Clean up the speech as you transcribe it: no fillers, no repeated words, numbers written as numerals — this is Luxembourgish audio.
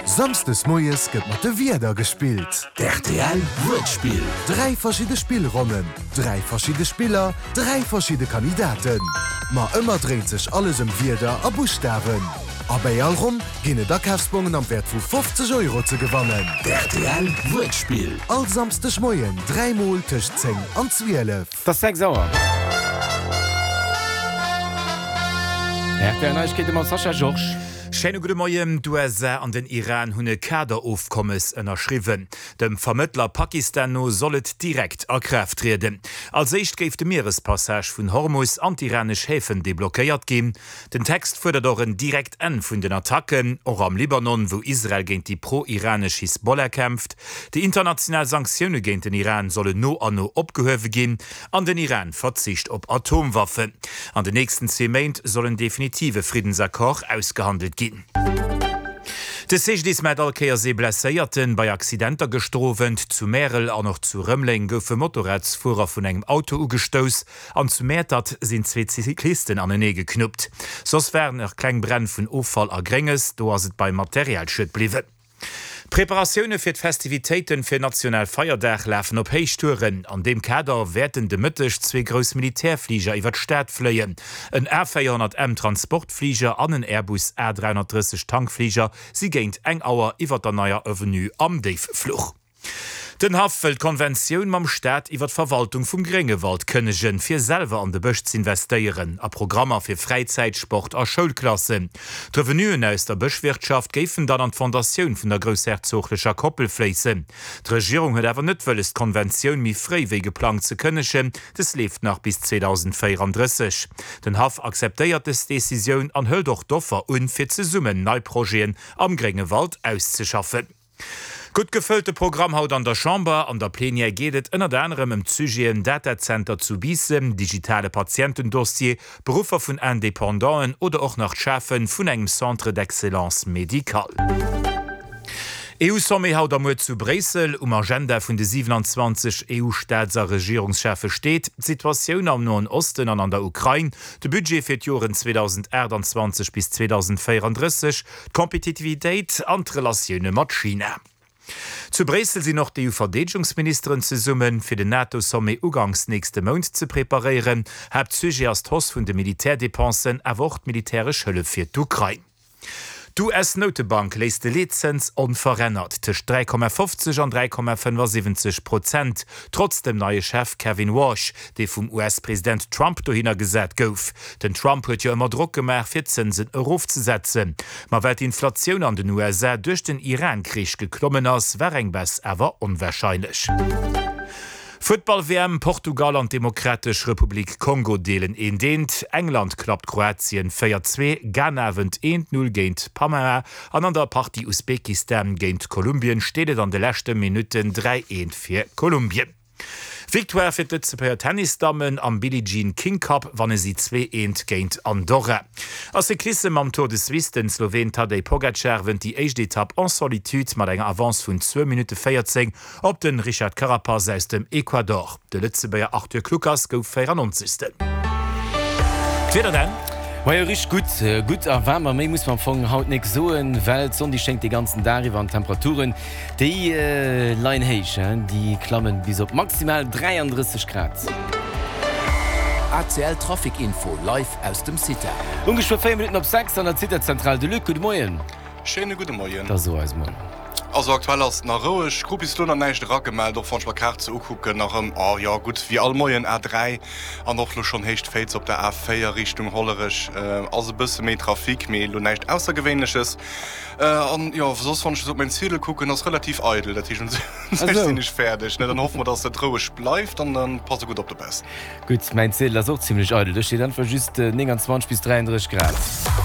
Samsdes moies gëtt mat de Wierder gespillt. D'RTL Wuertspill. 3 verschidde Spillronnen, 3 verschidde Spiller, 3 verschidde Kandidaten. Ma ëmmer dréint sech alles ëm Wierder a Buschtawen. A bäi all Ronn ginn et Akafsbongen am Wäert vu 50 Euro ze gewannen. D'RTL Wuertspill. All Samsdeg Moien 3 mol tëscht 10 an 12. Et ass 6 Auer. RTL Neiegkeete mam Sascha Georges. Schéine gudde Moien. D'USA an den Iran hunn e Kaderofkommes ënnerschriwwen. Dem Vermëttler Pakistan no soll et direkt a Kraaft trieden. Als éischt géif de Mierespassage vun Hormus an d'iranesch Häfen deblockéiert ginn. Den Text fuerdert och en direkt Enn vun den Attacken, och am Libanon, wou Israel géint déi pro-iranesch Hisbollah kämpft. Déi international Sanktioune géint den Iran sollen no an no opgehuewe ginn. An den Iran verzicht op Atomwaffen. An den nächsten zwee Méint soll en definitive Friddensaccord ausgehandelt ginn. De CGDIS mellt all Kéiers ee Blesséierten bei Accidenter gëschter Owend. Zu Märel an och zu Rëmeleng goufe Motorradsfuerer vun engem Auto ugestouss an zu Mäertert sinn zwee Cyclisten anenee geknuppt. Soss waren nach kleng Bränn vun Offall a Grénges, do ass et beim Materialschued bliwwen. D'Preparatioune fir d'Festivitéiten fir National Feierdag lafen op Héichtouren. An deem Kader wäerten de Mëtteg zwee grouss Militärfliger iwwer d'Stad fléien. En A 400 M Transportfliger an en Airbus A 330 Tankfliger si géint eng Auer iwwer der Neier Avenue am Déiffluch. Den Haff wëll d'Konventioun mam Staat iwwer d'Verwaltung vum Gréngewald kënnegen, fir selwer an de Bësch z'investéieren, a Programmer fir Fräizäit, Sport a Schoulklassen. D'Revenuen aus der Bëschwirtschaft géifen dann an d'Fondatioun vun der groussherzoglecher Koppel fléissen. D'Regierung huet awer net wëlles d'Konventioun méi fréi wéi geplangt ze kënnegen, des leeft nach bis 2034. Den Haff akzeptéiert des Decisioun an hëlt och d'Offer un, fir zesummen nei Projeten am Gréngewald auszeschaffen. Gutt gefëllte Programm haut an der Chamber. An der Plenière geet et ënnert anerem ëm d'Sujeten Datacenter zu Biissen, digitale Patientendossier, Beruffer vun Independanten oder och nach d'Schafe vun engem Centre d'excellence médical. EU-Sommet haut a muer zu Bréissel. Um Agenda vun de 27 EU-Staats a Regierungscheffe steet, d'Situatioun am Noen Osten an an der Ukrain, de Budget fir d'Joren 2028 bis 2034, D'Kompetitivitéit an d'Relatioune mat China. Zu Bréissel sinn och d'EU-Verdeedegungsministeren zesummen, fir den NATO-Sommet uganks nächste Mount ze preparéieren. Haaptsujet ass d'Hausse vun de Militärdépensen, awer och d'militäresch Hëllef fir d'Ukrain. D'US-Noutebank léisst de Leetzëns onverännert tëscht 3,50 an 3,75 Prozent, trotz dem neie Chef Kevin Warsh, dee vum US-President Trump dohinner gesat gouf. Den Trump huet jo ëmmer Drock gemaach, fir d'Zënsen erofzesetzen. Ma well d'Inflatioun an den USA duerch den Iran-Krich geklommen ass, war eng Baisse awer onwarscheinlech. Futtball-WM, Portugal an d'Demokratesch Republik Kongo deelen eent eent, England klappt Kroatien 4, 2, Ghana wënnt eent, 0 géint Panama an an der Partie Usbekistan géint Kolumbien steet et an de leschte Minutten 3, 1 fir Kolumbien. Victoire fir d'Lëtzebuerger Tennisdammen am Billie Jean King Cup, wanne si 2 eent géint Andorra. A Cyclissem am Tour de Suisse, Den Sloween Tadej Pogacar wënnt déi éischt Etapp en solitude mat enger Avance vun zwou Minutte 14 op de Richard Carapaz aus dem Ecuador. De Lëtzebuerger Arthur Kluckers gouf 94. D'Wieder dann. Majo richteg gutt, gutt a waarm a méi muss mer am Fong haut nik soen, well d'Sonn déi schéngt dee ganzen Dag iwwer an d'Temperaturen Déi leien héich, déi klammen bis op maximal 33 Grad. ACL Trafic Info live aus dem CITA. Ungeschwë 4 Minutten op 6 an der CITA-Zentral. De Luc, gudde Moien. Schéine gudde Moien. Da so eis mol. Also aktuell ass et nach roueg, krut bis elo nach näischt eragemellt, och wann ech mer d'Kaart sou ukucken, nach ëm, oh jo gutt, wéi all Moien A3 an och lo schonn Héicht Féiz op der A4 Richtung Hollerech ass e bësse méi Trafic, mee elo näischt Aussergewéinleches. An jo, soss wann ech esou op mäin Ziedel kucken, ass relativ eidel. Dat heescht, un sech sinn ech fäerdeg. Ne, dann hoffe mer, dass et roueg bleift an dann pass e gutt op dobaussen. Gutt, mäin Ziedel ass och zimlech eidel. Do steet einfach just 29 bis 33 Grad.